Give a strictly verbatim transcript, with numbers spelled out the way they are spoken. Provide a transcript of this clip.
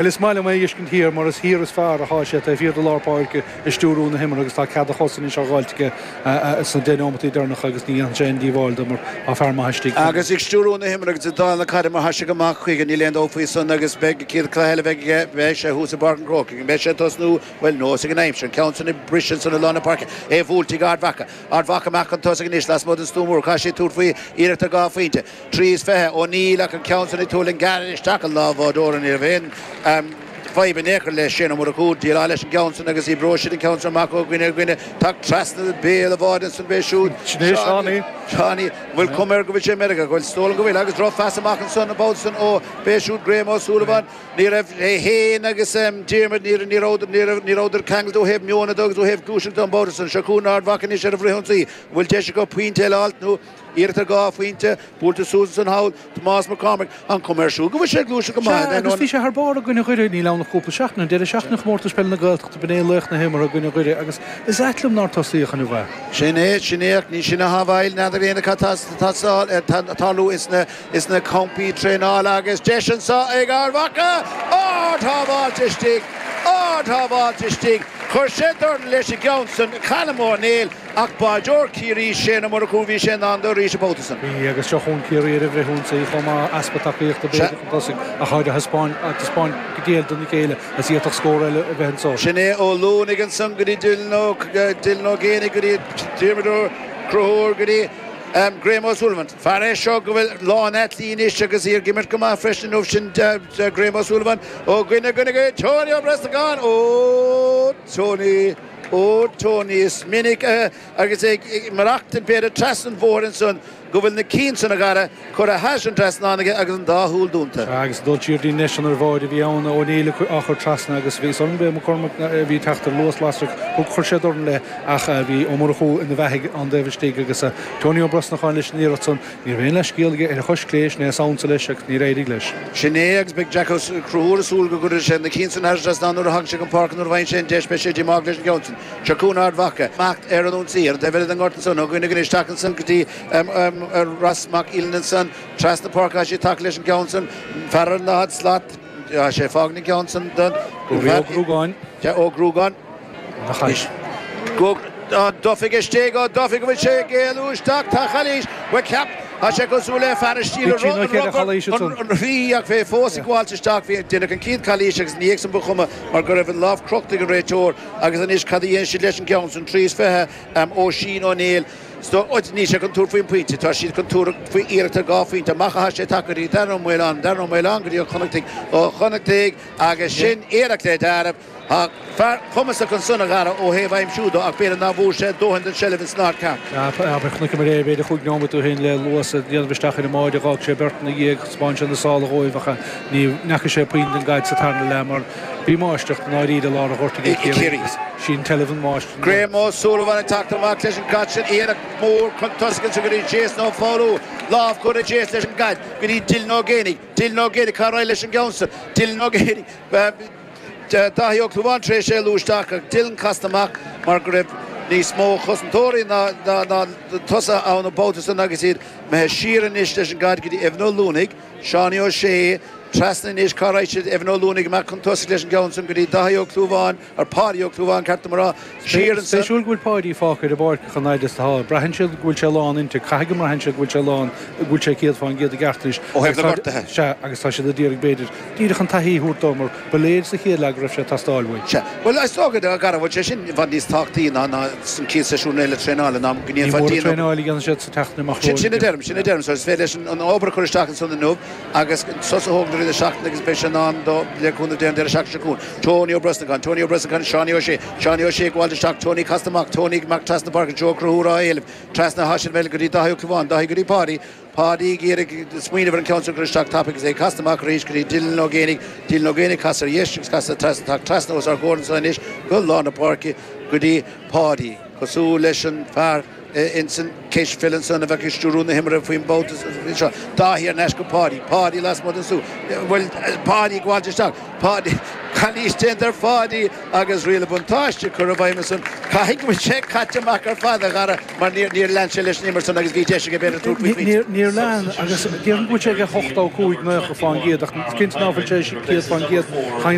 Well is maith liom é a fheiscint thiar mar is thiar is fearr atá sé taobh thiar de lár páirce ag stiúrú na himeartha agus tá cead a chos anois á dh'fháilt aige sna deich neomataí deireanacha agus ní dhéanfaidh sé aon díobháil dó mar tá fear maith istigh. Agus ag stiúrú na himeartha agus ag dáileadh na caide mar tá sé amach chuige níl aon dabht faoi san agus beidh an chéad chluiche eile a bheidh aige beidh sé thuas i bPáirc an Chrócaigh. An mbeidh sé ag tosnú? Bhuel nós ag an aimsir an ceann san ag briseadh ansan i lár na páirce é buailte ag Ard Mhacha. Ard Mhacha amach chun tosaigh anois lasmuigh den stua mór. Caithfidh siad tabhairt faoi iarracht ar dhá phointe. Trí is fiche O'Neill ach an ceann san ag tabhairt an gearradh isteach i lámh bháireora ní raibh aon fadhb in aon chor le Shane Ó Murchú déileáil leis an gceann san agus oibreoidh siad an ceann san amach ó dhuine ar dhuine teacht trasna béal an bháide ansan b'é siúd Sin é Seánie. Seánie bhfuil cuma air go bhfuil sé i Meiriceá go bhfuil is dóigh liom go bhfuil agus drochphas amach ansan an babhta san ó b'é siúd Graham Ó Súilleabháin ní raibh é féin agus Diarmuid ní ní rabhadar ní raibh ní rabhadar ceangailte ó thaobh meon de agus ó thaobh gluaiseachta an babhta san seo chugainn Ard Mhacha anois ar an bhfrithionsaí bhfuil deis acu pointe eile a fháilt nó Iarracht ar dhá phointe, buailte suas ansan thall, Tomás Mac Cormaic, an chuma air siúd go bhfuil sé ag gluaiseacht go maith Sea, agus bhí sé thar barr i gcoinne Dhoire, níl ann ach cúpla seachtain, an deireadh seachtaine Chomórtas Peile na Gaeltachta, b'in é laoch na himeartha i gcoinne Dhoire agus is ait liom nár tosaíodh inniu é. Sin é, sin é, ach ní sin atá i bhfeighil, n'fheadar éinne cad tá ag tarlú ins na campaí traenála agus deis anseo ag Ard Mhacha! Ard-shábháilt istigh! Ard-shábháilt istigh! Chuir sé dorn leis an gceann san, Colm Ó Néill. Ach báideoir Chiarraí, Shane Ó Murchú, bhí sé in ann dó arís an babhta san. Bhí, agus seo chugainn Ciarraí ar an bhfrithionsaí chomh maith, easpa tacaíochta b'fhéidir chun tosaigh, ach táid ag taispeáint go diail dona chéile is d'fhéadfadh scór eile a bheith anso. Sin é Ó Luanaigh ansan go dtí Dylan Ó Dylan Ó Géibheannaigh go dtí Diarmuid Ó Conchúir go dtí Graham O'Sullivan. Fear é seo go bhfuil lán aclaí anois agus í ag imirt go maith freisin inniu sin Graham O'Sullivan ó dhuine go dtí Tony Ó Brosnacháin. Ó Tony! Ó Tony, is minic agus é ag maireachtaint b'fhéidir trasna an bhóthair ansan go bhfuil na cinn san a Dhara curtha thairis an trasnán aige agus an dá shúil dúnta. Sea, agus ag dul siar dtí an deis san ar bháide a bhí ann, O'Neill á chur trasna agus bhí san b'é McCormack a bhí ag teacht ar luas lasrach, thug, chuir sé dorn leis ach bhí Ó Murchú ina bheathaidh an taobh istigh agus Tony Ó Brosnacháin leis an iarracht san. Ní raibh aon leithscéal aige ar a chois chlé, sin é a samhnsa leis agus níor éirigh leis. Sin é agus beidh Jack Ó Conchúir ag súil go gcuirfidh sé na cinn san thar an trasnán nuair a thagann sé chun páirce nuair a bhfaigheann sé an deis beidh sé díomách leis an gceann san. Seo chugainn Ard Mhacha. Imeacht ar an ionsaí ar an taobh eile den ngort ansan ó dhuine go isteach ansan go dtí Ross Mac Uilinn ansan trasna páirce tá sé ag tacú leis an gceann san fear ar an daichead slat tá sé ag fágaint an ceann san don Ó Gruagáin. Ó Gruagáin. Go Duffy istigh, ó Duffy go bhfuil sé ag éalú isteach, tá calaois, bhuel ceap, tá sé cosúil le fear a steal an rí ach bhí fós ag gabháilt isteach, bhí deineadh an chéad calaois agus ina dhiaidh san ba chuma mar go raibh an lámh crochta ag an réiteoir agus anois cad a dhéanfaidh siad leis an gceann san, trí is fiche Oisín Ó Néill, níl sé chun tabhairt faoin bpointe, tá siad chun tabhairt faoi iarracht ar dhá phointe, amach atá sé tagtha go dtí Darren Ó Maoláin, Darren Ó Maoláin go dtí Ó Connachtaigh, Ó Connachtaigh agus sin iarracht le deáramh. Tá fear cumasach ansan a Dhara ó thaobh aimsiú de ach b'fhéidir ná bhfuair sé dóthain den seilbh ins an áit ceart. Abair, chonaiceamar é b'fhéidir chúig neomat ó shin le luas a dhéanamh isteach ar an mbáide, dh'fhág sé beirt ina dhiaidh, thaispeáin sé na sála dhóibh ach ní ndeachaigh sé puinn den gcaid sa tarna leath mar bhí máistreacht i ndáiríre i lár an ghoirt ag Ciarraí agus sí an tseilbh an máistir. Graham Ó Súilleabháin ag teacht amach leis an gcaid sin, iarracht mhór chun tosaigh ansan go dtí Jason Ó Foghlú, lámh curtha ag Jason leis an gcaid go dtí Dylan Ó Géibheannaigh, Dylan Ó Géibheannaigh cá raghaidh leis an gceann san, Dylan Ó Géibheannaigh. Dáithí Ó Clúmháin tar éis éalú isteach ach Dylan casta amach mar go raibh níos mó cosantóirí ná tosaithe ann an babhta san agus iad imithe siar anois leis an gcaid go dtí Evan Ó Luanaigh, Seánie Ó Sé, trasna anois, cá raghaidh siad, Evan Ó Luanaigh amach chun tosaigh leis an gceann san go dtí Dáithí Ó Clúmháin, ar Páidí Ó Clúmháin ceart dom a rá, siar ansan. Spéisiúil go bhfuil Páidí fágtha ar an bpáirc chomh fhada is atá. Braitheann siad go bhfuil sé lán inti, caithfidh go mbraitheann siad go bhfuil sé lán, go bhfuil sé céad fán gcéad i gceart anois. Ó thaobh na gortuithe. Sea, agus tá siad a d'iarraidh b'fhéidir díreach an taithí a thabhairt dó mar ba léir sa chéad leath go raibh sé ag teastáil uaidh. Sea. Bhuel, is dócha, a Dhara, bhfuil sé sin i bhfad níos tábhachtaí ná ná san chéad seisiún eile traenála ná go Ní ndéanfá mór an déanamh. traenáil a dhéanann siad sa tseachtain amach Sin, sin a romhainn. deirim, sin a deirim. So is féidir leis an, an obair a chur isteach ansan inniu agus sos a thógaint i rith na seachtaine agus beidh sé in ann dó le cúnamh Dé an deireadh seachtaine seo chugainn. Tony Ó Brosnacháin, Tony Ó Brosnacháin, Seánie Ó Sé, Seánie Ó Sé ag gabháilt isteach, Tony casta amach, Tony amach trasna páirce, Joe Ó Conchúir á éileamh, trasna atá siad go dtí Dáithí Ó Clúmháin, Dáithí go dtí Páidí, Páidí ag iarraidh smaoineamh ar an gceann sin a chur isteach tapaidh agus é casta amach arís go dtí Dylan Ó Géibheannaigh, Dylan Ó Géibheannaigh casadh ar dheis agus casadh trasna, teacht trasna os ár gcomhair anseo anois go lár na páirce go dtí Páidí. Cosúil leis an fear ins an cispheil ansan a bheadh ag stiúrú na himeartha faoin mbabhta seo. Dáithí thar n-ais go Páidí. Páidí lasmuigh den stua. Bhuel, Páidí ag gabháilt isteach. Páidí, calaois déanta ar Pháidí agus riail an bhuntáiste curtha i bhfeidhm ansan. Caithfidh go bhfuil sé caite amach ar fad a Dhara mar níor lean sé leis an imirt san agus bhí deis aige b'fhéidir tabhairt faoi phointe. Níor lean agus déarfainn go bhfuil sé ag ochtó cúig nócha faoin gcéad ach cinnte ná fuil sé céad faoin gcéad.